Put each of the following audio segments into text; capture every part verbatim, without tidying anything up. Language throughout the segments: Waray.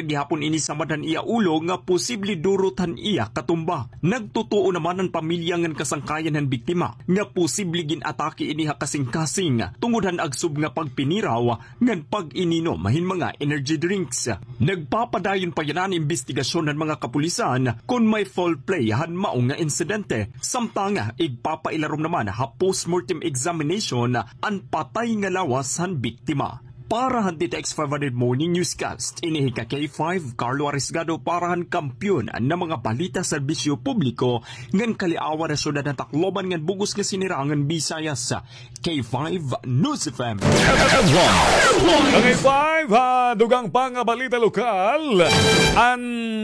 gihapon ini samad han iya ulo nga posible durot han iya katumba. Nagtutuo naman an pamilya ngan kasangkayan han biktima nga posible gin-atake ini ha kasingkasing tungod han agsob nga pagpiniraw ngan pag-ininom hin mga energy drinks. Nagpapadayon pa yana an imbestigasyon han mga kapulisan kon may foul play han mao nga insidente. Samtang igpapailarom naman ha postmortem examination an patay nga lawas han biktima. Para han D T X five hundred Morning Newscast, ini hi ka K five, Carlo Arisgado para han Kampiyon nga mga balita, serbisyo publiko, ngan kaliawan han syudad han Tacloban ngan bug-os nga sinirangan Visayas, K five News F M. Ka K five, ha dugang pa nga balita lokal, an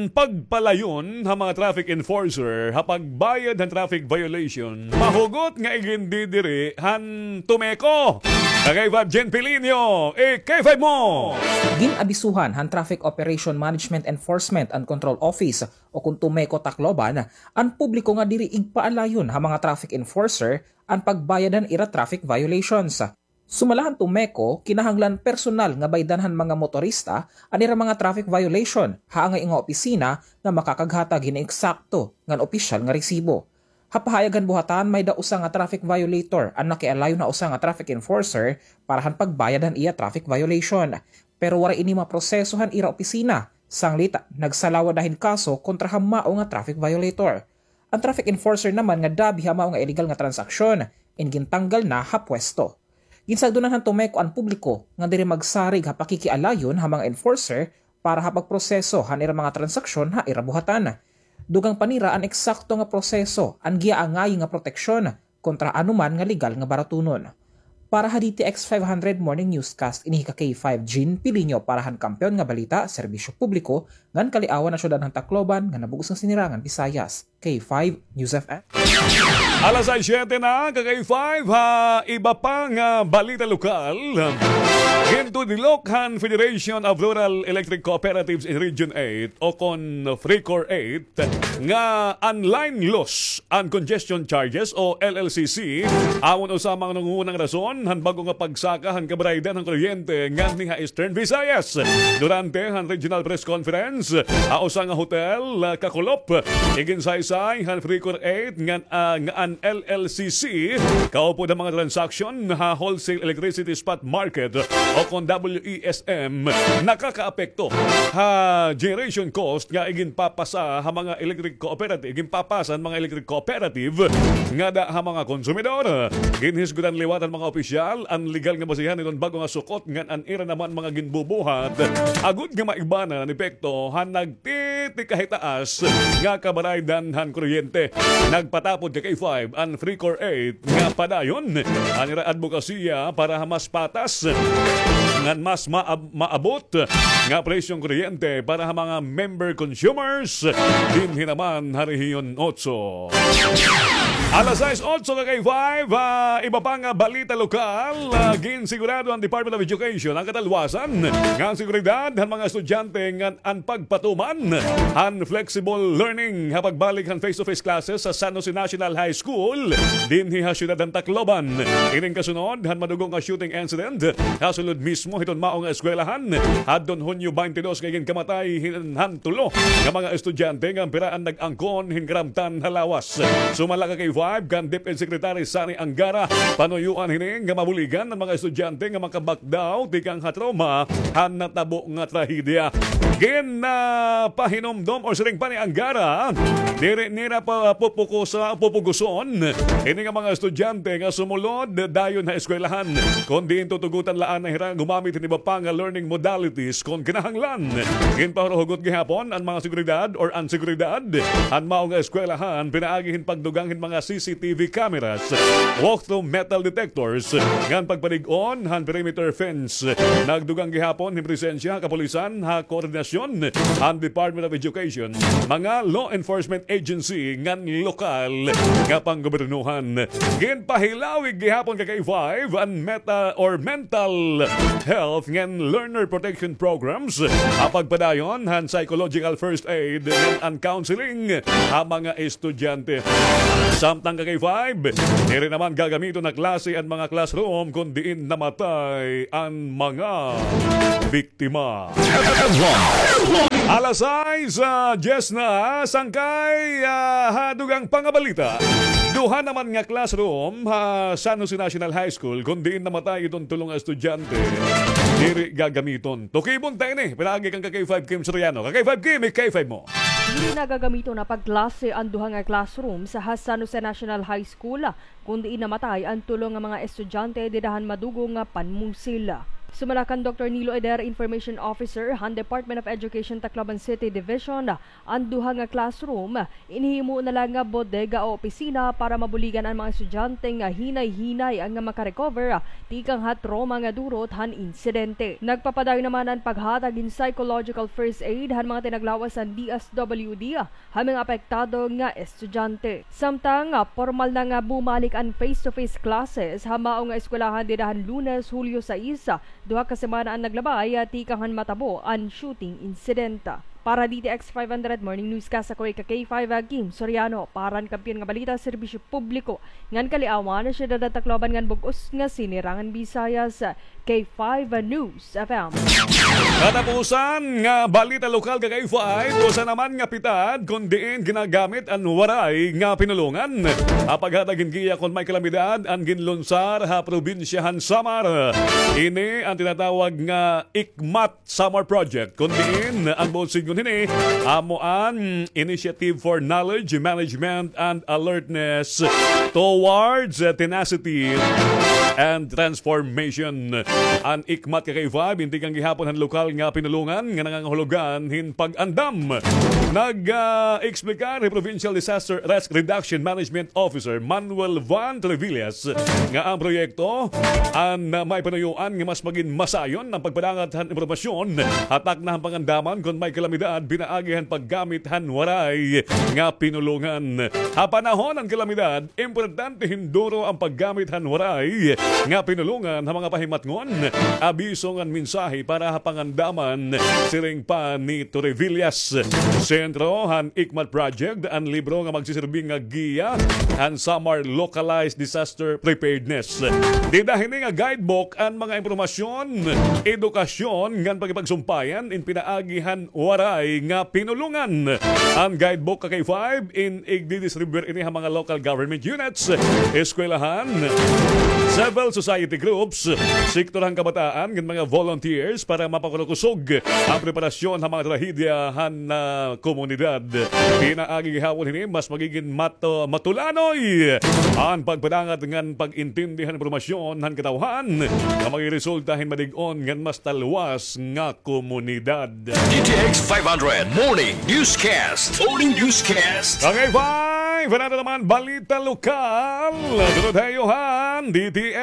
pagpalayon ha mga traffic enforcer ha pagbayad han traffic violation, mahugot nga igindidiri han TUMECO. Ka K five Jen Pilinio, i K five mo. Gin-abisuhan han Traffic Operation Management Enforcement and Control Office o kon TUMECO Tacloban an publiko nga diri igpaalayon ha mga traffic enforcer an pagbayad han ira traffic violations. Sumala han TUMECO, kinahanglan personal nga baydan han mga motorista an ira mga traffic violation ha angay nga opisina nga makakaghatag hin eksakto ngan opisyal nga resibo. Ha pahayag han buhatan, may-ada usa nga traffic violator an nakialayon ha usa nga traffic enforcer para han pagbayad han iya traffic violation. Pero waray ini maproseso han ira opisina, sanglit nagsalaw ada hin kaso kontra ha mao nga traffic violator. An traffic enforcer naman nga dabi ha mao nga illegal nga transaksyon, in gintanggal na ha pwesto. Ginsagdonan han TUMECO an publiko nga diri magsarig ha pakikialayon ha mga enforcer para ha pagproseso han ira mga transaksyon ha ira buhatan. Dugang pa nira an eksakto nga proseso an giaangayi nga proteksyon kontra anoman nga legal nga baratunon. Para ha D T X five hundred Morning Newscast, ini hi ka K five Jean Pilinio para han Kampiyon nga Balita, Serbisyo Publiko, ngan kaliawan han syudad han Tacloban, ngan bug-os nga sinirangan Visayas. K five News F M. Alas sais siyete na, ka K five, ha iba pa nga balita lokal. Gintudilok han Federation of Rural Electric Cooperatives in Region eight o kon FRECOR eight nga an line loss and congestion charges o L L C C amon usa ha mga nangungunang rason han bag-o nga pagsaka han kabaraydan han kuryente nganhi ha Eastern Visayas. Durante han regional press conference ha usa nga hotel, ah, kakulop, iginsaysay han FRECOR eight ngan, ah, nga an L L C C kaupod han mga transaksyon ha wholesale electricity spot market o kon W E S M nakakaapekto ha generation cost nga iginpapasa ha mga electric cooperative, iginpapasa han mga electric cooperative ngada ha mga konsumidor. Ginhisgutan liwat han mga opisyal an legal nga basihan hiton bag-o nga sukot ngan an ira naman mga ginbubuhat agod nga maigbanan an epekto han nagtitikahitaas nga kabaraydan han kuryente. Nagpatapod ka K five an FRECOR eight nga padayon an ira adbokasiya para ha mas patas ngan mas maab-, maabot nga presyong kuryente para ha mga member consumers dinhi naman ha Rehiyon Otso. Alas sais otso ka K five, ah, iba pa nga balita lokal, ah, ginsigurado han Department of Education an katalwasan ngan seguridad han mga estudyante ngan an pagpatuman han flexible learning ha pagbalik han face-to-face classes ha San Jose National High School dinhi ha siyudad han Tacloban. Ining kasunod han madugo nga shooting incident ha sulod mismo hiton mao nga eskwelahan hadton Hunyo twenty-two nga iginkamatay hin-, han tulo nga mga estudyante ngan pira an nag-angkon hin karamtan ha lawas. Sumala ka K five kan DepEd Secretary Sonny Angara, panuyoan hini nga mabuligan an mga estudyante nga makabakdaw tikang ha trauma han natabo nga trahedya. Gin, ah, pahinumdom o siring pa ni Angara, diri nira pa pupukusa-, pupuguson ini nga mga estudyante nga sumulod dayon ha eskwelahan, kundi tutugutan la anay hira gumamit hin iba pa nga learning modalities kon kinahanglan. Ginpahuruhugot gihapon an mga seguridad or an seguridad han mao nga eskwelahan pinaagi hin pagdugang hin mga C C T V cameras, walk-through metal detectors, ngan pagpalig-on han perimeter fence. Nagdugang gihapon hin presensya han kapulisan ha koordinasyon han Department of Education, mga law enforcement agency ngan lokal nga panggobyernohan. Ginpahilawig gihapon ka K five an meta or mental health ngan learner protection programs, ha pagpadayon han psychological first aid ngan an counseling ha mga estudyante. Samtang ka-K five, diri naman gagamiton ha klase an mga classroom kon diin namatay an mga biktima. Alas sais, ah, diyes na, sangkay, ah, ha dugang pangabalita. Duha naman nga classroom ha San Jose National High School kon diin namatay iton tulo nga estudyante. Diri gagamiton. Tukibon ta ini, pinaagi kan ka-K five Kim Soriano. Ka-K five Kim, i-K five mo. Diri na gagamiton ha pagklase an duha nga classroom sa ha San Jose National High School, kon diin namatay an tulo nga mga estudyante dida han madugong nga panmusil. Sumala kan Doktor Nilo Eder, Information Officer han Department of Education, Tacloban City Division, an duha nga classroom inhimo na la nga bodega o opisina para mabuligan an mga estudyante nga hinay-hinay nga makarecover tikang ha trauma nga durot han insidente. Nagpapadayon naman an paghatag hin psychological first aid han mga tinaglawas han D S W D ha mga apektado nga estudyante. Samtang, ah, pormal na nga bumalik an face-to-face classes ha mao nga eskwelahan dida han Lunes, Hulyo sais, duha ka semana an naglabay, ah, tikang han matabo an shooting incident. Para D T X five hundred Morning Newscast, ako hi ka-K five, ah, Kim Soriano. Para han Kampiyon nga Balita, Serbisyo Publiko ngan Kaliawan, Syudad han Tacloban ngan bug-os nga Sinirangan Visayas, K five News F M. Katapusan nga balita lokal, ka-K five, usa naman nga pitad kon diin ginagamit an Waray nga pinulongan ha paghatag hin giya kon may kalamidad an ginlunsar ha probinsya han Samar. Ini an tinatawag nga ICMAT Samar Project, kon diin an buot sidngon hini amo an Initiative for Knowledge Management and Alertness Towards Tenacity and Transformation. An ICMAT, ka-K five, intikang gihapon han lokal nga pinulongan nga nangangahulugan hin pag-andam. Nag, ah, eksplikan hi Provincial Disaster Risk Reduction Management Officer Manuel Van Trevillas nga an proyekto an, ah, may panuyuan nga mas magin masayon an pagpadangat han impormasyon ha takna han pangandaman kon may kalamidad pinaagi han paggamit han Waray nga pinulongan. Ha panahon han kalamidad, importante hin duro an paggamit han Waray nga pinulongan ha mga pahimatngon, abiso ngan mensahe para ha pangandaman, siring pa ni Trevillas. Sentro han ICMAT Project an libro nga magsisirbi nga giya han Samar Localized Disaster Preparedness. Dida hini nga guidebook an mga impormasyon, edukasyon ngan pakigpagsumpayan in pinaagi han Waray nga pinulongan. An guidebook, ka-K five, in igdidistribuyar ini ha mga local government units, eskwelahan, civil society groups, sektor han kabataan, ngan mga volunteers para mapakurukusog an preparasyon ha mga trahedya han, ah, komunidad. Pinaagi gihapon hini, mas magigin mato-, matulanoy an pagpadangat ngan pag-intindi han impormasyon han katawhan nga magresulta hin malig-on ngan mas talwas nga komunidad. D T X five hundred Morning Newscast. Morning Newscast. Okay, fine. Fanado naman balita lokal. Sunod ha iyo han D T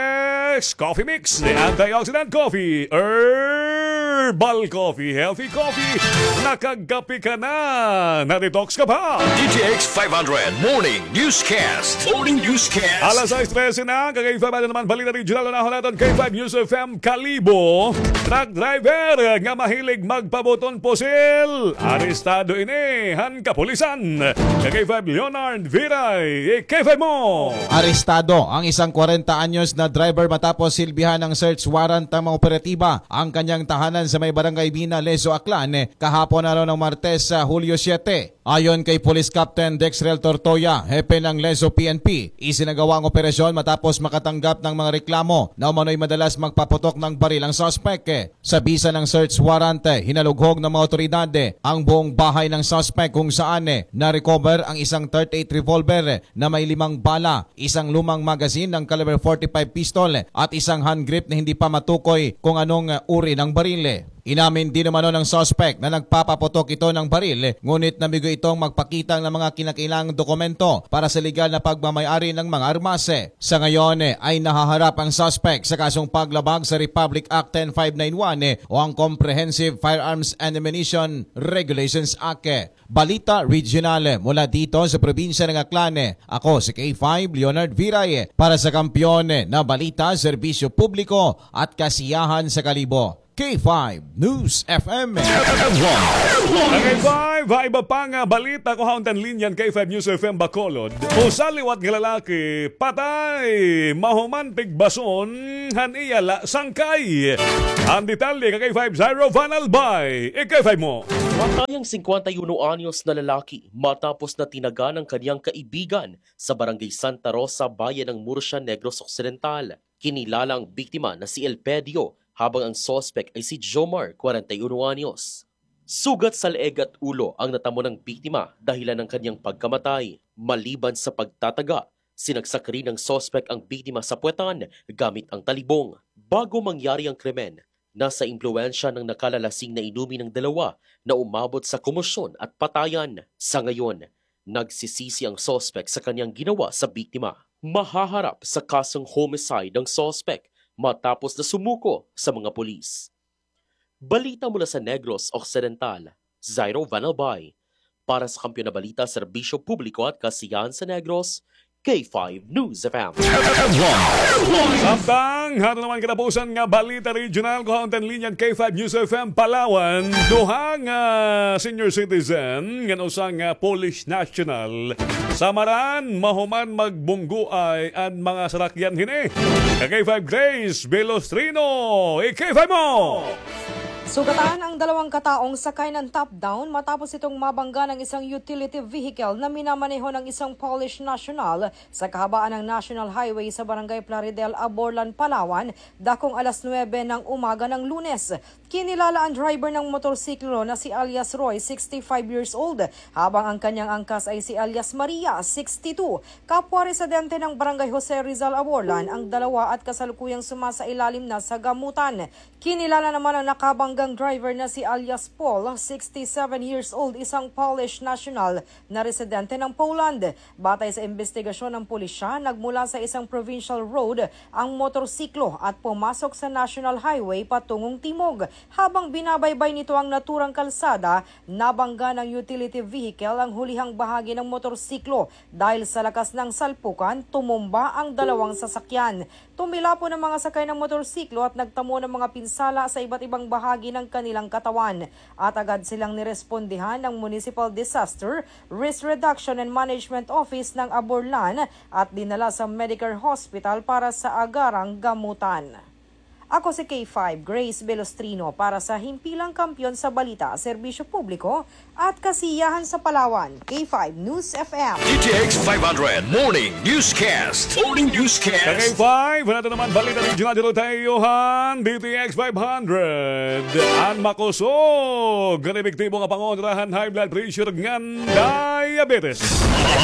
X Coffee Mix, the antioxidant coffee, herbal coffee, healthy coffee. Nakagkape ka na, na-detox ka pa. D T X five hundred Morning Newscast. Morning Newscast. Alas sais trese na, ka-K five, fanado naman balita regional, unahon naton K five News F M. Kalibo, truck driver nga mahilig magpabuton pusil, arestado ini han kapulisan. Ka-K five Leonard Viray, i-K five mo. Arestado ang isang kwarenta anyos na driver matapos silbihan ng search warrant ng mga operatiba ang kanyang tahanan sa may barangay Bina, Lezo, Aklan, kahapon araw ng Martes, sa Hulyo siyete. Ayon kay Police Captain Dexrel Tortoya, hepe ng Lezo P N P, isinagawa ang operasyon matapos makatanggap ng mga reklamo na umano'y madalas magpaputok ng baril ang suspek. Sa bisa ng search warrant, hinalughog ng mga otoridad ang buong bahay ng suspek kung saan na-recover ang isang thirty-eight revolver na may limang bala, isang lumang magazine ng caliber forty-five pistol at isang hand grip na hindi pa matukoy kung anong uri ng baril. Inamin din umano ng suspect na nagpapaputok ito ng baril, ngunit namigo itong magpakita ng mga kinakailangang dokumento para sa legal na pagmamayari ng mga armas. Sa ngayon, ay nahaharap ang suspect sa kasong paglabag sa Republic Act ten five nine one o ang Comprehensive Firearms and Ammunition Regulations Act. Balita Regional mula dito sa probinsya ng Aklan. Ako si K five Leonard Viray para sa Kampiyon na Balita, Serbisyo Publiko at Kasiyahan sa Kalibo. K five News F M. K five, ha iba pa nga balita ko ha untan linyan K five News F M Bacolod. Usa liwat nga lalaki patay mahuman tigbason han iya la sangkay. An detalye ka K five Jairo Van Albay. I K five mo. Patay ang singkwenta y uno anyos na lalaki matapos na tinaga ng kaniyang kaibigan sa Barangay Santa Rosa, Bayan ng Murcia, Negros Occidental. Kinilala ang biktima na si Elpedio, habang ang suspek ay si Jomar, kwarenta y uno anyos. Sugat sa leeg at ulo ang natamo ng biktima dahilan ng kaniyang pagkamatay. Maliban sa pagtataga, sinagsak rin ng suspek ang biktima sa puwetan gamit ang talibong. Bago mangyari ang krimen, nasa impluwensya ng nakalalasing na inumin ng dalawa na umabot sa komosyon at patayan. Sa ngayon, nagsisisi ang suspek sa kaniyang ginawa sa biktima. Mahaharap sa kasong homicide ang suspek matapos na sumuko sa mga pulis. Balita mula sa Negros Occidental, Zairo Van Albay. Para sa Kampiyon na Balita, Serbisyo Publiko at Kasiyahan sa Negros, K five News F M. Samtang, hato naman katapusan nga balita regional ko ha untan linyan K five News F M Palawan, duha nga senior citizen ngan usa nga Polish national. Samaran, mahuman magbunggoay an mga sarakyan hini. Ka K five Grace Velostrino, i K five mo! Sugatan ang dalawang kataong sakay ng top-down matapos itong mabangga ng isang utility vehicle na minamaneho ng isang Polish national sa kahabaan ng National Highway sa Barangay Plaridel, Aborlan, Palawan, dakong alas nuwebe ng umaga ng Lunes. Kinilala ang driver ng motorsiklo na si alias Roy, sixty-five years old, habang ang kanyang angkas ay si alias Maria, sixty-two, kapwa residente ng Barangay Jose Rizal, Aborlan, ang dalawa at kasalukuyang sumasailalim na sa gamutan. Kinilala naman ang nakabanggang driver na si alias Paul, sixty-seven years old, isang Polish national na residente ng Poland. Batay sa imbestigasyon ng pulisya, nagmula sa isang provincial road ang motorsiklo at pumasok sa National Highway patungong timog. Habang binabaybay nito ang naturang kalsada, nabangga ng utility vehicle ang hulihang bahagi ng motorsiklo. Dahil sa lakas ng salpukan, tumumba ang dalawang sasakyan. Tumilapon ang mga sakay ng motorsiklo at nagtamo ng mga pinsala sa iba't ibang bahagi ng kanilang katawan. At agad silang nirespondihan ng Municipal Disaster Risk Reduction and Management Office ng Aborlan at dinala sa Medicare Hospital para sa agarang gamutan. Ako si K five Grace Velostrino para sa Himpilang Kampiyon sa Balita, Serbisyo Publiko at Kasiyahan sa Palawan, K five News F M. D T X five hundred Morning Newscast. Morning Newscast. Ka K five, nato naman balita regional dito tayo han D T X five hundred. An makusog nga epektibo nga pangontra han high blood pressure ngan diabetes.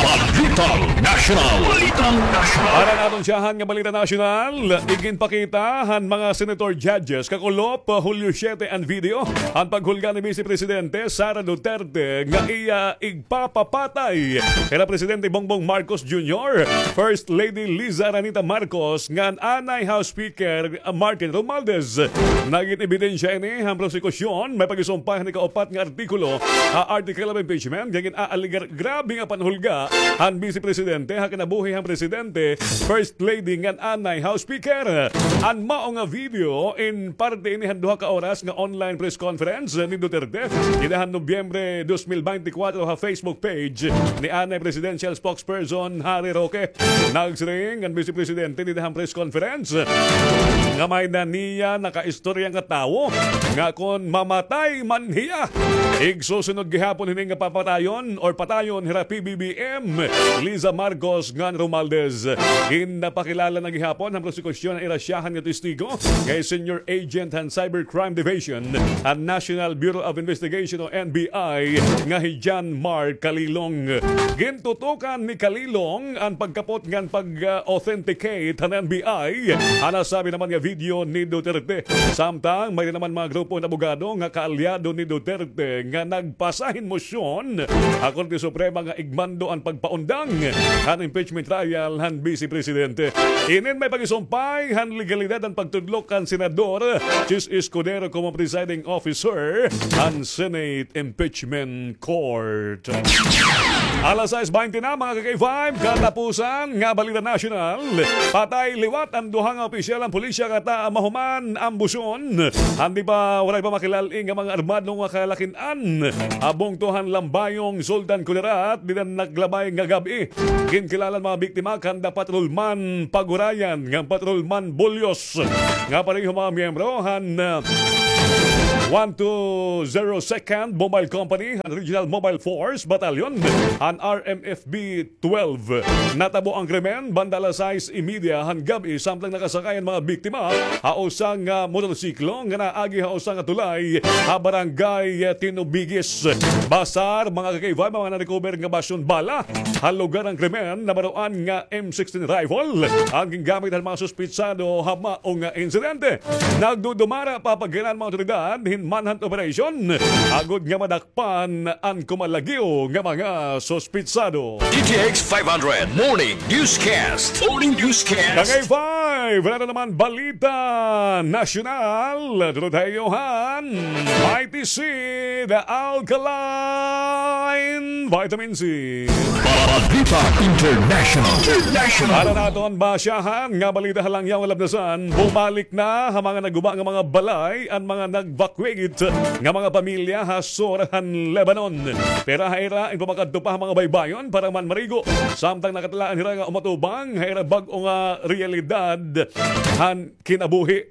Balitang National. Balitang National. Para naton siyahan nga balita nasyonal, iginpakita han mga senator judges kakulop Hulyo siyete an video han paghulga ni Vice Presidente Sara Duterte nga iya igpapapatay hira Presidente Bongbong Marcos Junior, First Lady Liza Aranita Marcos, ngan anay House Speaker Martin Romualdez. Nagin ebidensya ini han prosekusyon, may pag-isumpay han ikaupat nga artikulo ha Article of Impeachment, nga gin-aalegar grabe nga panhulga han Vice Presidente ha kinabuhi han Presidente, First Lady, ngan anay House Speaker. An mao nga video in parte ini han duha ka oras nga online press conference ni Duterte dida han Nobyembre dos mil beintikwatro ha Facebook page ni anay Presidential Spokesperson Harry Roque. Nagsiring an Vice Presidente dida han press conference nga may-ada niya nakaistorya nga tawo nga kon mamatay man hiya, igsusunod gihapon hini nga papatayon or patayon hira P B B M Liza Marcos ngan Romualdez. Ginpakilala na gihapon han prosekusyon an ira siyahan nga testigo nga hi Senior Agent han Cybercrime Division han National Bureau of Investigation o N B I nga hi John Mark Kalilong. Gintutukan ni Kalilong an pagkapot ngan pag-authenticate han N B I han nasabi naman nga video ni Duterte. Samtang may naman mga grupo nga abogado nga kaalyado ni Duterte nga nagpasa hin mosyon ha Korte Suprema nga igmando an pagpaundang han impeachment trial han Vice Presidente. Inin may pagisumpay han legalidad han pagtudlok kan Senador Chiz Escudero komo presiding officer han Senate Impeachment Court. Alas sais baynte na, mga ka-K five, katapusan nga balita nasyonal. Patay liwat an duha nga opisyal han pulisya kata mahuman an ambusyon han di pa, waray pa makilal-i nga mga armado nga kalakin-an ha bungto han Lambayong, Sultan Kudarat, dida naglabay nga gab-i. Ginkilala an mga biktima kan the patrolman Pagurayan ngan patrolman Bullos nga pareho mga miyembro han, ah, one two zero second Mobile Company, han Regional Mobile Force Battalion, han R M F B twelve. Natabo an krimen banda alas sais y media han gab-i, samtang nakasakay an mga biktima ha usa nga motorsiklo nga naagi ha usa nga tulay ha Barangay Tinubigis. Basar, mga ka-K five, mga na-recover nga basyon bala ha lugar han krimen, nabaroan nga M sixteen rifle an gingamit han mga suspitsado ha mao nga insidente. Nagdudumara pa pagkailan mga awtoridad hin manhunt operation agod nga madak pan an kumalagyo nga mga suspitsado. D T X five hundred Morning Newscast. Morning Newscast. Ka-K five, wala na naman balita nasyonal. Durot ha iyo han Mighty Seed Alkaline Vitamin C. Balita International. International. Para naton basyahan nga balita ha langyaw nga labdasan, bumalik na ha mga naguba nga mga balay an mga nag-evacuate nga mga pamilya ha sur han Lebanon. Pira ha ira an pagmakadto pa ha mga baybayon para man marigo, samtang nakatilaon hira nga umatubang ha ira bag-o nga realidad han kinabuhi.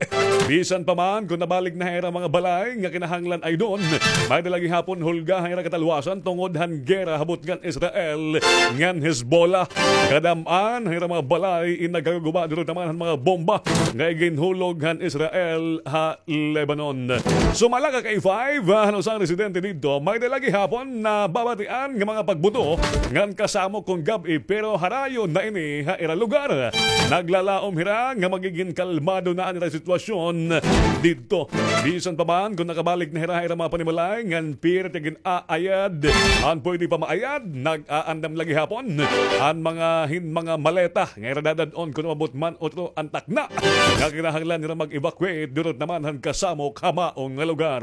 Bisan pa man kon nabalik na ha ira mga balay nga kinahanglan aydon, may-ada la gihapon hulga ha ira katalwasan tungod han gera ha butngan Israel ngan Hezbollah. Kadam-an han ira mga balay in nagkakaguba durot naman han mga bomba nga iginhulog han Israel ha Lebanon. Sumala, ka-K five, ah, han usa nga residente didto, may-ada la gihapon nababatian nga mga pagbuto ngan kasamok kon gab-i, pero harayo na ini ha ira lugar. Naglalaom hira nga magigin kalmado na an ira sitwasyon didto. Bisan pa man kon nakabalik na hira ha ira mga panimalay ngan pira it gin-aayad an pwede pa maayad, nag-aandam la gihapon an mga hin mga maleta nga ira dadad-on kon umabot man utro an takna nga kinahanglan nira mag-evacuate durot naman han kasamok ha maong nga lugar.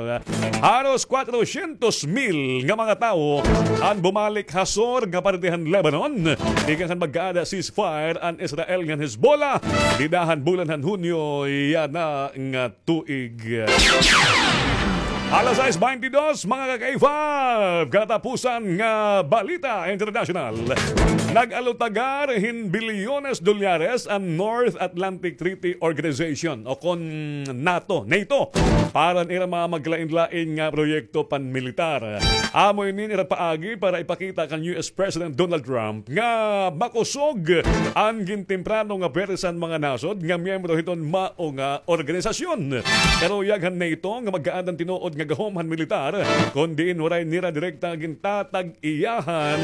Haros kwatrosyentos mil nga mga tawo an bumalik ha sur nga parte han Lebanon tikang han magkaada ceasefire an Israel ngan Hezbollah dida han bulan han Hunyo yana nga tuig. Alas sais baynte dos, mga ka-K five, katapusan nga balita internasyonal. Nag-alutagar hin bilyones dolyares an North Atlantic Treaty Organization o kon NATO, NATO, para han ira mga magkalain-lain nga proyekto panmilitar. Amo ini an ira paagi para ipakita kan U S President Donald Trump nga makusog an gintemprano nga pwersa han mga nasod nga miyembro hiton mao nga organisasyon. Karuyag han NATO nga magkaada han tinuod nga gahom han militar, kon diin waray nira direkta nga gintatag-iyahan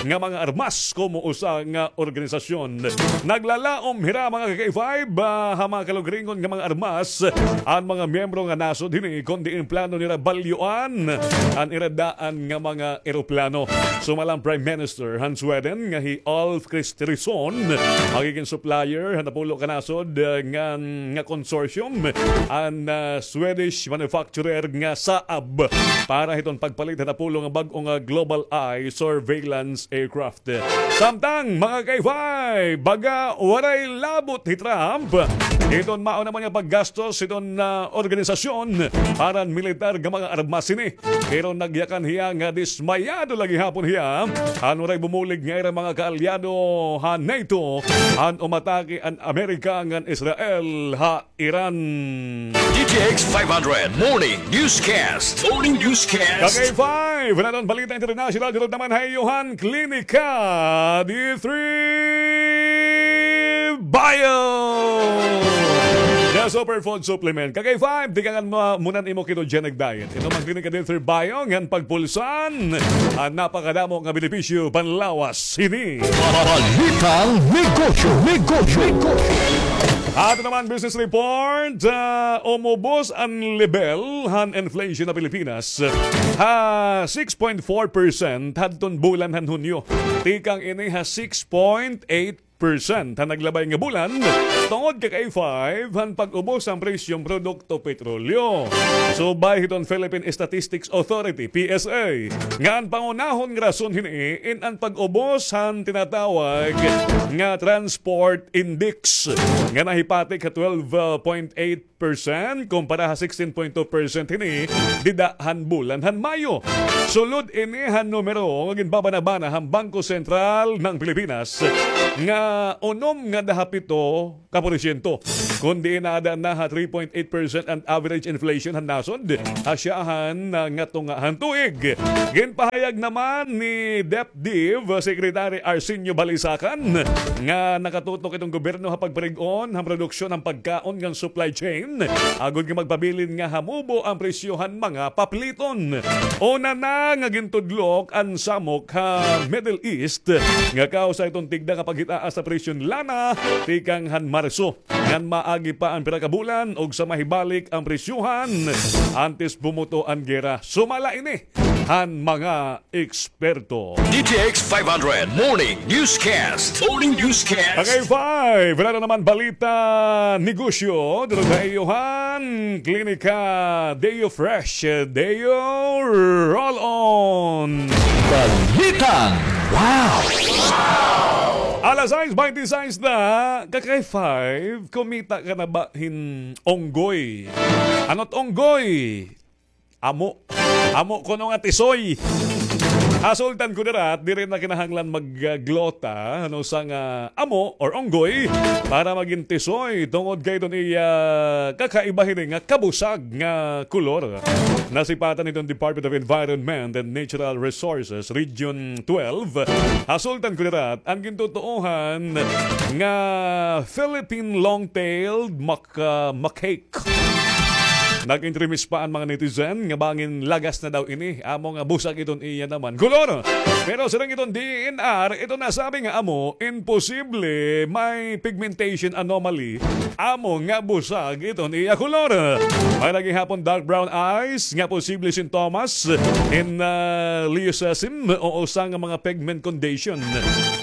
nga mga armas komo usa nga organisasyon. Naglalaom hira, mga ka-K five, ah, ha mga kalugringon nga mga armas an mga miyembro nga nasod hini, kon diin plano nira balyoan an ira daan nga mga eroplano. Sumala an Prime Minister han Sweden nga hi Ulf Kristersson, magigin supplier han napulo ka nasod, ah, nga, nga consortium an, ah, Swedish manufacturer nga Saab para hiton pagpalit han napulo nga bag-o nga Global Eye surveillance aircraft. Samtang, mga ka-K five, baga waray labot hi Trump hiton mao naman nga paggastos hiton, ah, organisasyon para han militar nga mga armas hini. Pero nagyakan hiya nga dismayado la gihapon hiya han waray bumulig nga ira mga kaalyado ha NATO han umatake an Amerika ngan Israel ha Iran. D T X five hundred Morning Newscast. Morning Newscast. Ka-K five, wala na an balita international. Durot naman ha iyo han Klinika D three Bio, the superfood supplement. Ka-K five, tikangan mo muna an imo ketogenic diet. Inom an Klinika D three Bio ngan pagpulsan an napakadamo nga benepisyo panlawas hini. Balitang negosyo, negosyo, negosyo. Ato naman business report, ah, umubos an lebel han inflation ha Pilipinas ha six point four percent hadton bulan han Hunyo. Tikang ini ha six point eight percent han naglabay nga bulan tungod ka K five han pag-ubos han presyong produkto petrolyo. Subay hiton Philippine Statistics Authority, P S A, nga an pangunahon nga rason hini in an pag-ubos han tinatawag nga transport index nga nahipatik ha twelve point eight percent kumpara ha sixteen point two percent hini dida han bulan han Mayo. Sulod ini han numero nga ginbabanabana han Bangko Sentral ng Pilipinas nga unom nga dahapito ka porsyento, kundi naada na ha three point eight percent an average inflation han nasod ha syahan nga tunga han tuig. Ginpahayag naman ni Dep Div Secretary Arsenio Balisacan nga nakatutok iton gobyerno ha pagparig-on han produksyon han pagkaon ngan supply chain, agod nga magpabilin nga hamubo an presyo han mga papliton. Una na nga gintudlok an samok ha Middle East nga kausa iton tigda nga paghitaas sa presyon lana tikang han Marso. Ngan maagi pa an pira ka bulan ug sa mahibalik an presyohan antes bumuto an gera. Sumala ini han mga eksperto. D T X five hundred Morning Newscast. Morning Newscast. Tagay five, wala na naman balita negosyo. Dito sa iyo han Klinika Deo Fresh, Deo Roll On. Balitang wow! Alas sais baynte sais na, Kakay five, kumita ka na ba hin unggoy? Ano't unggoy? Amo. Amo kuno nga tisoy. Hasultan ko dira, diri na kinahanglan magglota, ano, sa nga amo or unggoy para magin tisoy tungod kay iton iya kakaiba hini nga kabusag nga kolor. Nasipatan hiton Department of Environment and Natural Resources Region twelve. Hasultan ko dira, an gintutuohan nga Philippine long-tailed mac-, ah, macaque. Nag-intremis pa an mga netizen nga bangin lagas na daw ini, amo nga busag iton iya naman kolor. Pero siring iton D E N R, ito nasabi nga amo, imposible may pigmentation anomaly, amo nga busag iton iya kolor. May lagi gihapon dark brown eyes nga posible sintomas in, ah, leucism o usa nga mga pigment condition.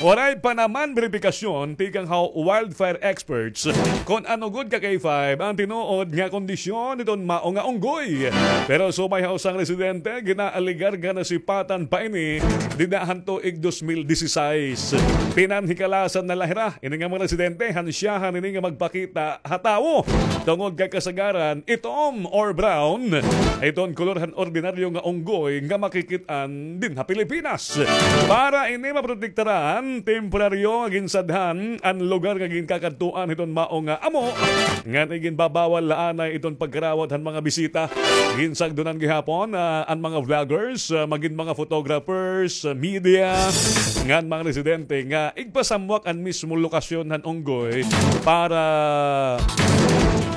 Waray pa naman beripikasyon tikang ha wildfire experts kon ano gud, Kakay five, an tinuod nga kondisyon hiton mao nga unggoy. Pero subay ha usa nga residente, ginaalegar nga nasipatan pa ini dida han tuig dos mil disisais. Pinanhikalasan na la hira ini nga mga residente han syahan ini nga magpakita ha tawo tungod kay kasagaran itom or brown iton kolor han ordinaryo nga unggoy nga makikit-an dinhi ha Pilipinas. Para ini maprotektaran, temporaryo nga ginsadhan an lugar nga ginkakadtuan hiton mao nga amo, ngan iginbabawal la anay iton pagkarawat han mga bisita. Ginsagdonan gihapon, ah, an mga vloggers, ah, magin mga photographers, ah, media, ngan mga residente nga igpasamwak an mismo lokasyon han unggoy para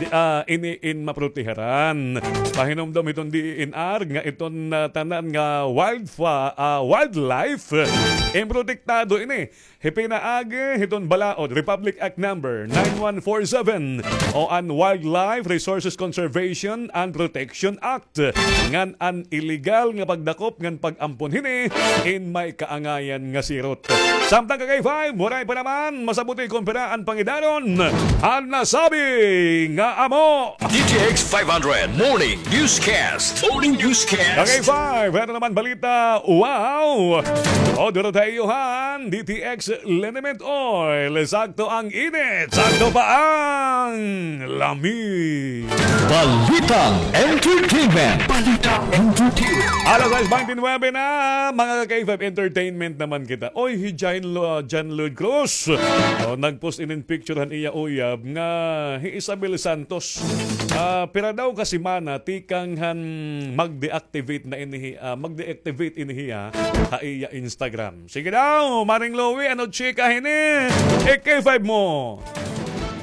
di, ah, ini in maproteharan. Pahinumdom hiton D E N R nga iton, ah, tanan nga wildfa-, ah, wildlife, eh, protektado ini. Hi pinaagi hiton balaod, Republic Act Number nine one four seven o an Wildlife Resources Conservation and Protection Act, ngan an iligal nga pagdakop ngan pag-ampon hini in may kaangayan nga sirot. Samtang, Kakay five, waray pa naman masabuti kon pira an pangidaron han nasabi nga amo. D T X five hundred Morning Newscast. Morning Newscast. Kakay five, ano naman balita? Wow! O, duro tayo han D T X Liniment Oil. Sakto ang init, sakto pa ang lami. Balitang entertainment. Balitang entertainment. Alas sais baynte nuwebe na, mga Kakay five, entertainment naman kita. Oy, hi John Lo-, John Lloyd Cruz. O, nag-post inin picture han iya uyab nga hi Isabel Santos. Ah, pira daw ka semana tikang han mag-deactivate na ini hi-, ah, mag-deactivate ini hiya ha iya Instagram. Sige daw, Maring Louie, ano chika hini? K five mo.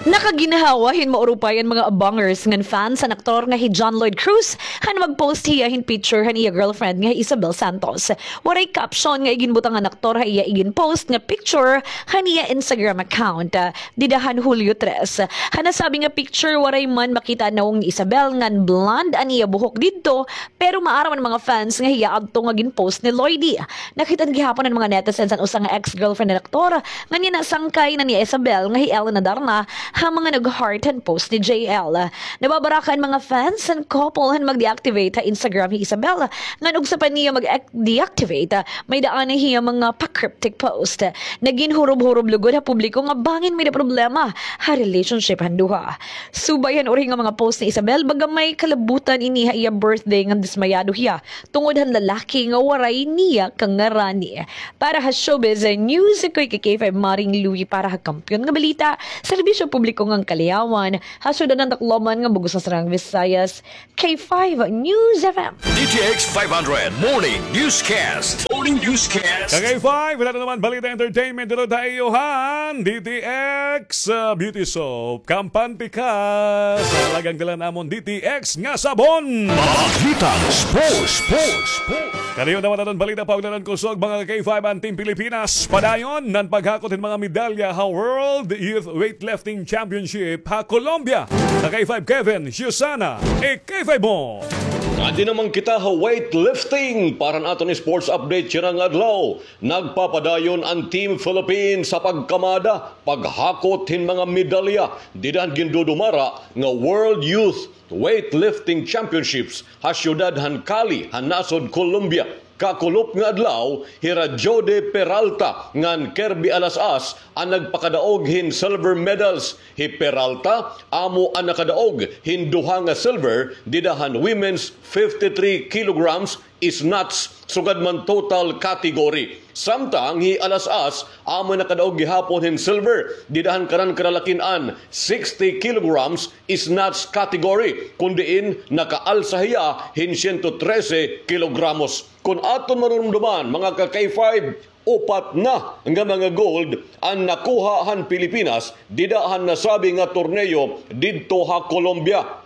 Nakaginhawa hin maurupay an mga abangers ngan fans han aktor nga hi John Lloyd Cruz han mag-post hiya hin picture han iya girlfriend nga hi Isabel Santos. Waray caption nga iginbutang han aktor ha iya iginpost nga picture han iya Instagram account, ah, dida han Hulyo tres. Han nasabi nga picture, waray man makita an nawong ni Isabel ngan blonde an iya buhok didto, pero maaram an mga fans nga hiya adto nga ginpost ni Lloydie. Nakit-an gihapon han mga netizens an usa nga ex-girlfriend han aktor, ngan iya nasangkay na ni Isabel nga hi Elena Darna ha mga nag-heart han post ni J L. Nababaraka an mga fans han couple han mag-deactivate ha Instagram hi Isabel, ngan ugsa pa niya mag-deactivate, may-ada anay hiya mga pa-cryptic post. Nagin hurob-hurob lugod ha publiko nga bangin may-ada problema ha relationship han duha. Subay han uri nga mga post ni Isabel, baga may kalabutan ini ha iya birthday ngan dismayado hiya tungod han lalaki nga waray niya kangarani. Para ha Showbiz News, ako hi K five Maring Louie para ha Kampiyon nga Balita, Serbisyo Publiko ngan Kaliawan, ha syudad han Tacloban ngan bug-os nga Sariang Visayas, K five News F M. D T X five hundred Morning Newscast. Morning Newscast. Ka K five, wala na naman balita entertainment dito tayo han D T X, uh, Beauty Soap. Kampante ka sa halagang dala namon D T X nga sabon. Balitang sports, sports, sports. Kaniyo naman aton balita, paugnanan kusog, mga ka K five, an Team Pilipinas padayon nan paghakot hin mga medalya ha World Youth Weightlifting Championship ha Colombia. Ka K five Kevin, Susana, e K five mo. Adi naman kita ha weightlifting para han aton sports update hira nga adlaw. Nagpapadayon an Team Philippines sa pagkamada, paghakot hin mga medalya dida han gindudumara nga World Youth Weightlifting Championships ha syudad han Cali, han nasod Colombia. Kakulop nga adlaw, hira Jody Peralta ngan Kirby Alas-as an nagpakadaog hin silver medals. Hi Peralta amo an nakadaog hin duha nga silver dida han women's fifty-three kilograms snatch, sugad man total category. Samtang hi Alas-as amo nakadaog gihapon hin silver dida han kanan karalakin-an sixty kilograms snatch category, kun diin nakaalsa hiya hin siyento trese kilogramos. Kun aton marurumduman, mga ka K five, upat na nga mga gold an nakuha han Pilipinas dida han nasabi nga torneo didto ha Colombia.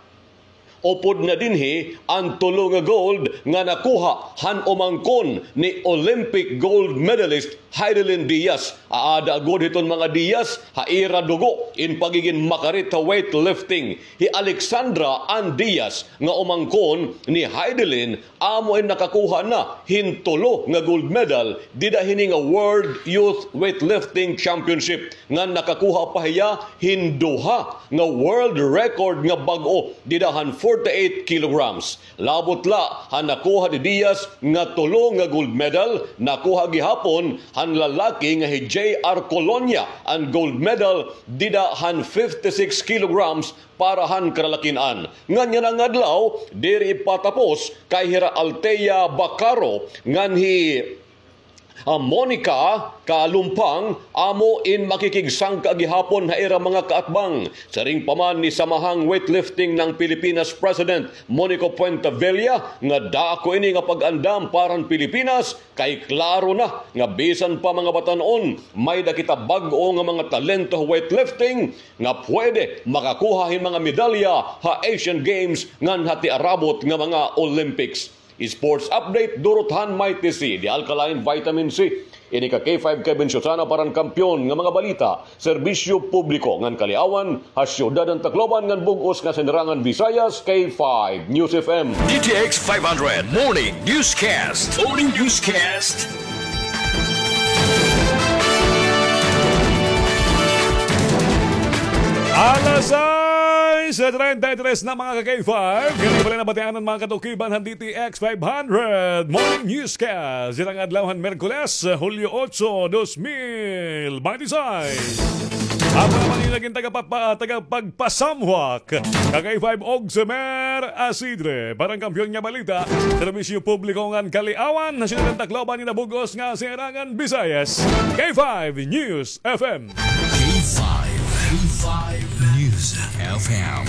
Upod na dinhi an tulo nga gold nga nakuha han umangkon ni Olympic gold medalist Heidelin Diaz. Aada gud hiton mga Diaz ha ira dugo in pagigin makarit ha weightlifting. Hi Alexandra Ann Diaz nga umangkon ni Heidelin amo in nakakuha na hin tulo nga gold medal dida hini nga World Youth Weightlifting Championship, ngan nakakuha pa hiya hin duha nga world record nga bag-o dida han forty-eight kilograms. Labot la han nakuha ni Diaz nga tulo nga gold medal, nakuha gihapon han lalaki nga hi J R Colonia an gold medal dida han fifty-six kilograms para han karalakin-an. Ngan yana nga adlaw, diri patapos kay hira Althea Bacaro ngan hi, ah, Monica Kalumpang amo in makikigsangka gihapon ha ira mga kaatbang. Siring pa man ni Samahang Weightlifting ng Pilipinas President Monico Puentevilla nga dako ini nga pag-andam para han Pilipinas, kay klaro na nga bisan pa mga batan-on, may-ada kita bag-o nga mga talento ha weightlifting nga pwede makakuha hin mga medalya ha Asian Games ngan ha tiarabot nga mga Olympics. Sports update, durot han Mighty C, The Alkaline Vitamin C. Ini ka K five Kevin Susana para han Kampiyon nga mga balita, serbisyo publiko ngan kaliawan, ha syudad han Tacloban ngan bug-os nga Sinirangan Visayas, K five News F M. D T X five hundred Morning Newscast. Morning Newscast. Alas sais treinta y tres na, mga ka-K five. Kani pala nabatian an mga katukiban han D T X five hundred Morning Newscast. Dida nga adlaw han Miyerkules, Hulyo otso, dos mil bente seis. Ako naman it nagin tagapapa-, tagapagpasamwak, ka-K five Ogsemer Asidre. Para han Kampiyon nga Balita, serbisyo publiko ngan kaliawan, ha syudad han Tacloban ngan ha bug-os nga Sinirangan Visayas, K five News F M. K five, K five News F M,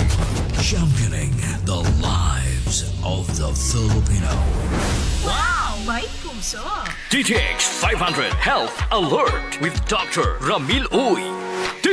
championing the lives of the Filipino. Wow! May puso! D T X five hundred Health Alert with Doctor Ramil Uy.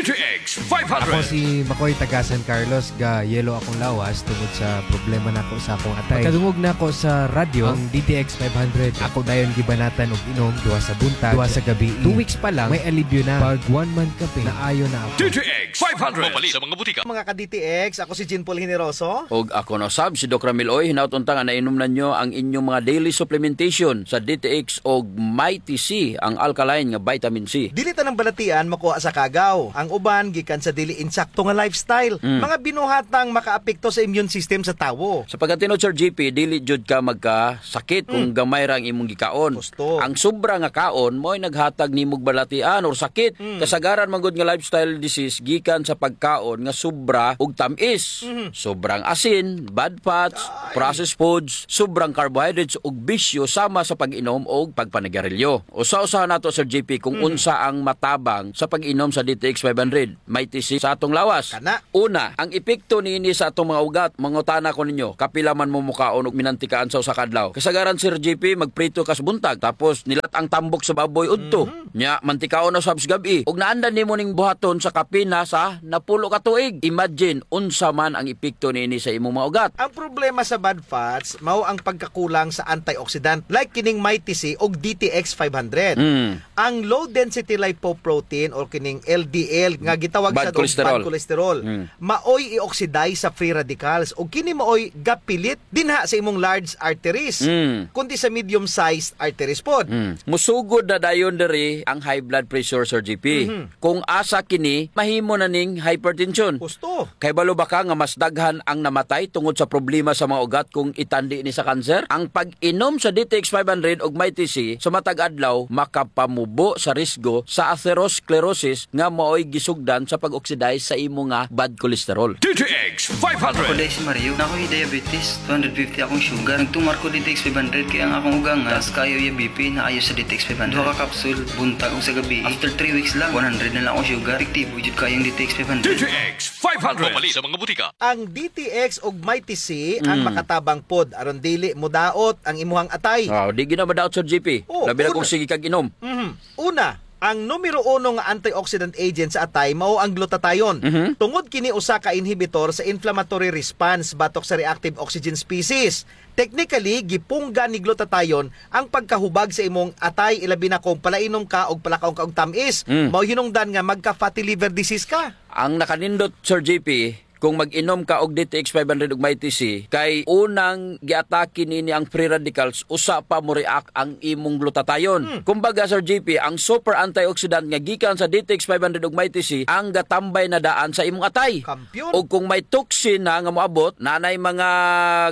D T X five hundred. Ako si Makoy, taga San Carlos, ga-yellow akong lawas tungod sa problema nako sa akong atay. Pagkadungog nako sa radyo, ang D T X five hundred, ako dayon gibanatan og inom, duha sa buntag, duha sa gabi. Two weeks pa lang, may alibyo na. Pag one month ka pa, naayo na ako. D T X five hundred. Mapalit sa mga butika. Mga ka-D T X, ako si Jean Paul Generoso. Og ako na sab, si Doc Ramil Oy. Hinaot unta nga nainom na niyo ang inyong mga daily supplementation sa D T X og Mighty C, ang alkaline nga vitamin C. Dili tanang balatian makuha sa kagaw. Ang uban gikan sa dili insakto nga lifestyle. Mm. Mga binuhatang makaapekto sa immune system sa tawo. Sa pagkatinuod, Sir G P, dili jud ka magkasakit kung gamay ra ang imong gikaon. Gusto. Ang sobra nga kaon mao'y naghatag nimog balatian or sakit. Mm. Kasagaran man gud nga lifestyle disease gikan sa pagkaon nga sobra og tam-is. Mhm. Sobrang asin, bad fats, processed foods, sobrang carbohydrates ug bisyo sama sa pag-inom og pagpanigarilyo. Usa-usahan nato, Sir G P, kung unsa ang matabang sa pag-inom sa D T X five hundred, Mighty C sa atong lawas. Kana. Una, ang epekto niini sa atong mga ugat. Mangutana ko ninyo, kapila man mo mukaon og minantikaan sa usa ka adlaw? Kasagaran, Sir G P, magprito ka sa buntag, tapos nilat-ang tambok sa baboy udto. Mhm. Nya, mantikaon na usab sa gab-i. Ug naandan nimo ning buhaton sa kapin na sa napulo ka tuig. Imagine, unsa man ang epekto niini sa imong mga ugat? Ang problema sa bad fats, mao ang pagkakulang sa antioxidant, like kining Mighty C og D T X five hundred. Mm. Ang low density lipoprotein or kining L D L nga gitawag sa bad cholesterol, maoy i-oxidize sa free radicals. Ug kini maoy gapilit dinha sa imong large arteries, kundi sa medium-sized arteries pod. Mm. Musugod na dayon diri ang high blood pressure, Sir G P. Mhm. Kung asa kini, mahimo na ning hypertension. Husto. Kay balo ba ka nga mas daghan ang namatay tungod sa problema sa mga ugat kung itandi ni sa kanser? Ang pag-inom sa D T X five hundred ug Mighty C sa matag adlaw makapamubo sa risgo sa atherosclerosis nga maoy gisugdan sa pag-oxidize sa imo nga bad cholesterol. D T X five hundred. Ako diay si Mario, naa koy diabetes, two hundred fifty akong sugar. Nagtumar ko D T X five hundred kay ang akong ugangan, taas kaayo iya B P, naayo sa D T X five hundred. Duha ka capsule, buntag ug sa gabi. After three weeks lang, one hundred na lang akong sugar. Epektibo jud kaayo ang D T X five hundred. D T X five hundred. Mapalit sa mga butika. Ang D T X ug Mighty C ang makatabang pod aron dili modaot ang imuhang atay. Ah, di gyud na madaot, Sir G P. Oh, labi na kung sige kag inom. Mhm. Una, ang numero uno nga antioxidant agent sa atay mao ang glutathione. Mhm. Tungod kini usa ka inhibitor sa inflammatory response batok sa reactive oxygen species. Technically, gipungga ni glutathione ang pagkahubag sa imong atay, ilabi na kung palainom ka og palakaw ka og tam-is. Mm. Mao hinungdan nga magka-fatty liver disease ka. Ang nakanindot, Sir G P, kung mag-inom ka og D T X five hundred ug Mighty C, kay unang giatake nini ang free radicals, usa pa mo-react ang imong glutathione. Hmm. Kumbaga, Sir G P, ang super antioxidant nga gikan sa D T X five hundred ug Mighty C ang gatambay na daan sa imong atay. Kampiyon. Ug kung may toxin na nga moabot, naa nay mga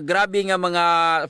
grabe nga mga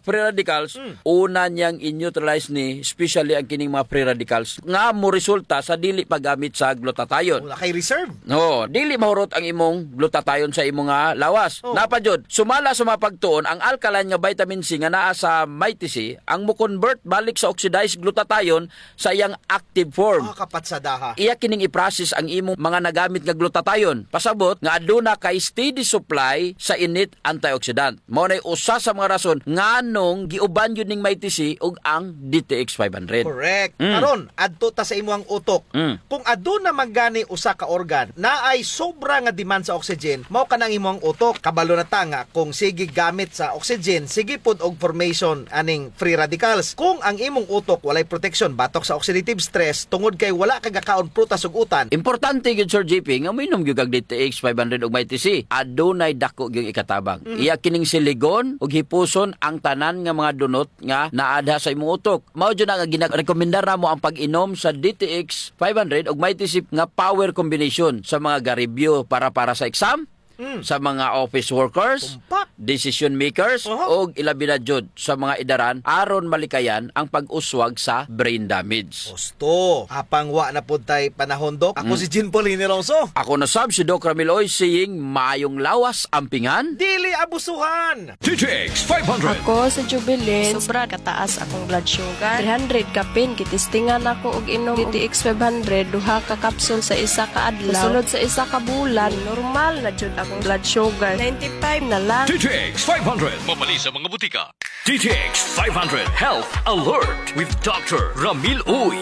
free radicals, hmm, una niyang i-neutralize ni, especially ang kining mga free radicals, nga moresulta sa dili paggamit sa glutathione. Wala kay reserve. No, dili mahurot ang imong glutathione sa imong, ah, lawas. Oh. Naa pa jud, sumala sa mga pagtuon, ang alkaline nga vitamin C nga naa sa Mighty C, ang mo-convert balik sa oxidized glutathione sa iyang active form. Ah, kapatsadaha. Iya kining i-process ang imong mga nagamit nga glutathione. Pasabot nga aduna kay steady supply sa init antioxidant. Mao nay usa sa mga rason nganong giuban yun ning Mighty C ug ang D T X five hundred. Correct. Mm. Karon, adto ta sa imuhang utok. Mm. Kung aduna man gani usa ka organ naay sobra nga demand sa oxygen, mao kana ang imuhang utok. Kabalo na ta nga kung sige gamit sa oxygen, sige pod og formation aning free radicals. Kung ang imong utok walay proteksyon batok sa oxidative stress tungod kay wala ka gakaon prutas ug utan. Importante gyud, Sir G P, nga moinom gyud kag D T X five hundred ug Mighty C. Adunay dako gyud ikatabang. Mhm. Iya kining siligon ug hipuson ang tanan nga mga dunot nga naa diha sa imong utok. Mao jud na nga ginarekomendar namo ang pag-inom sa D T X five hundred ug Mighty C nga power combination sa mga garibyo para, para sa exam, mm, sa mga office workers, tumpak, decision makers, aha, ug ilabi na jud sa mga edaran aron malikayan ang pag-uswag sa brain damage. Husto. Apang wa na pod tay panahon, Doc. Ako, mm, si Jean Paul Generoso. Ako na sab si Doc Ramil Oy, saying, maayong lawas, ampingan. Dili abusuhan. D T X five hundred. Ako si Jubilin. Sobra kataas akong blood sugar. Three hundred kapin, gitistingan ako og inom D T X five hundred, duha ka kapsul sa isa ka adlaw. Sa sulod sa isa ka bulan, normal na jud akong blood sugar. Ninety-five na lang. D T X five hundred. Mapalit sa mga butika. D T X five hundred Health Alert with Doctor Ramil Uy.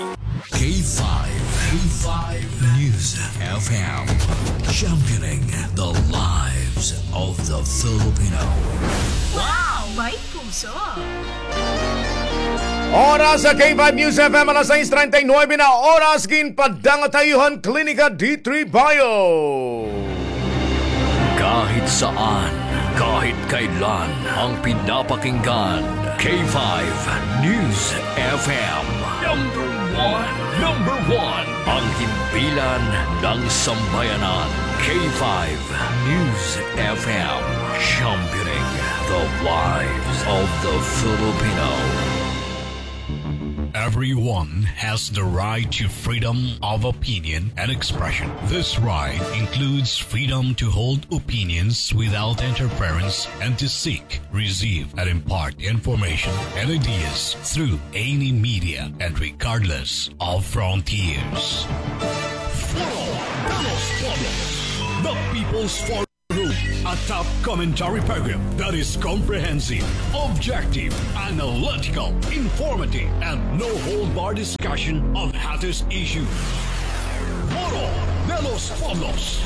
K five. K five News F M, championing the lives of the Filipino. Wow! May puso! Oras sa K five News F M, alas sais treinta y nuebe na oras, ginpadangatayo han Klinika D three Bio. Kahit saan, kahit kailan, ang pinapakinggan, K five News F M. Number one, number one, ang himpilan ng sambayanan, K five News F M, championing the lives of the Filipino. Everyone has the right to freedom of opinion and expression. This right includes freedom to hold opinions without interference and to seek, receive, and impart information and ideas through any media and regardless of frontiers. Foro de los Pueblos, the People's Forum, a top commentary program that is comprehensive, objective, analytical, informative, and no-hold-bar discussion of hottest issues. Foro de los Pueblos.